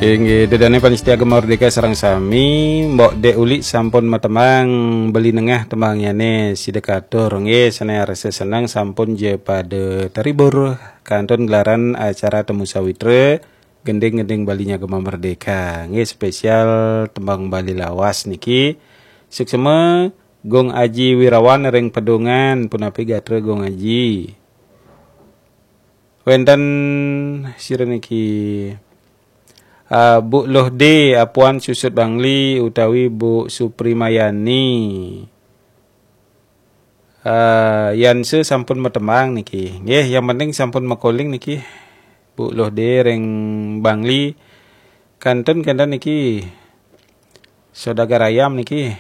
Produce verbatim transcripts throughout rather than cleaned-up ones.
Inggih, ida dané pamiarsa Gema Merdeka sareng sami, Mbok Dék Ulik sampun matembang, Beli Nengah tembangnyané sida katur. Nggih, sané rasa seneng sampun ja pada terhibur kantun gelaran acara Temu Sawitra, gending-gending Bali nya Gema Merdeka. Nggih, spesial tembang Bali lawas niki. Suksma Gung Aji Wirawan ring Pedungan, punapi gatra Gung Aji. Wénten sira niki, ah, Bu Loh D, Apuan Susut Bangli utawi Bu Suprimayani. Ah, Yanse sampun matembang niki. Nggih, yang penting sampun makoling niki. Bu Loh D ring Bangli. Kantun kantun niki. Saudagar ayam niki.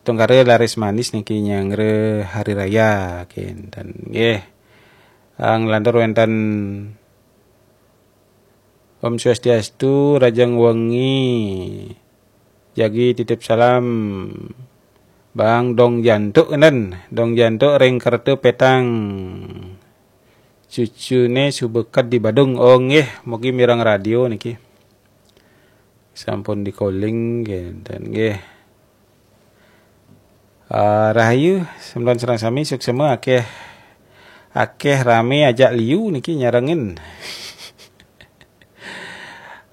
Tungkara laris manis niki nyanggra hari raya kinten nggih. Ah, nglantur wénten Om Swastiastu, rahajeng wengi. Jagi titip salam. Bang Dong Jantuk nen, Dong Jantuk ring Kerta Petang. Cucuné suba ked di Badung. Oh nggih, mugi mireng radio niki. Sampun di-calling kinten nggih. Ah, rahayu, semeton sareng sami suksma, akéh, akéh ramé ajak liu niki nyarengin.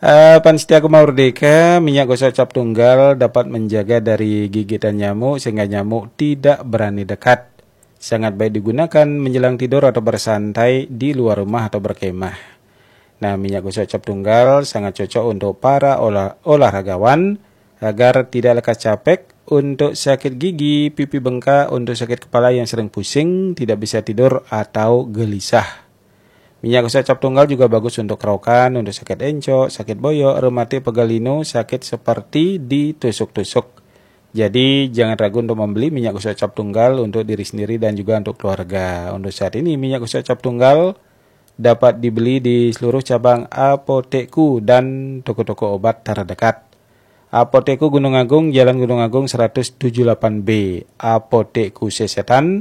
Eh, pamiarsa Gema Merdeka, minyak gosok cap tunggal dapat menjaga dari gigitan nyamuk sehingga nyamuk tidak berani dekat. Sangat baik digunakan menjelang tidur atau bersantai di luar rumah atau berkemah. Nah, minyak gosok cap tunggal sangat cocok untuk para olah, olahragawan agar tidak lekas capek, untuk sakit gigi, pipi bengkak, untuk sakit kepala yang sering pusing, tidak bisa tidur atau gelisah. Minyak gosok cap tunggal juga bagus untuk kerokan, untuk sakit encok, sakit boyok, rematik, pegal linu, sakit seperti ditusuk-tusuk. Jadi, jangan ragu untuk membeli minyak gosok cap tunggal untuk diri sendiri dan juga untuk keluarga. Untuk saat ini, minyak gosok cap tunggal dapat dibeli di seluruh cabang Apotekku dan toko-toko obat terdekat. Apotekku Gunung Agung, Jalan Gunung Agung seratus tujuh delapan B. Apotekku Sesetan,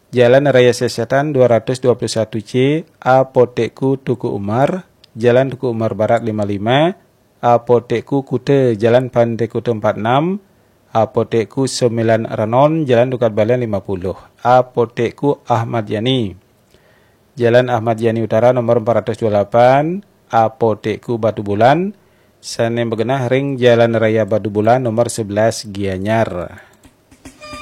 Jalan Raya Sesetan dua ratus dua puluh satu C. Apotekku Tuku Umar, Jalan Tuku Umar Barat lima lima. Apotekku Kuta, Jalan Pantai Kuta empat enam. Apotekku Sembilan Renon, Jalan Dukat Balian lima puluh. Apotekku Ahmad Yani, Jalan Ahmad Yani Utara nomor empat ratus dua puluh delapan. Apotekku Batubulan, sané magenah ring Jalan Raya Batubulan nomor sebelas Gianyar.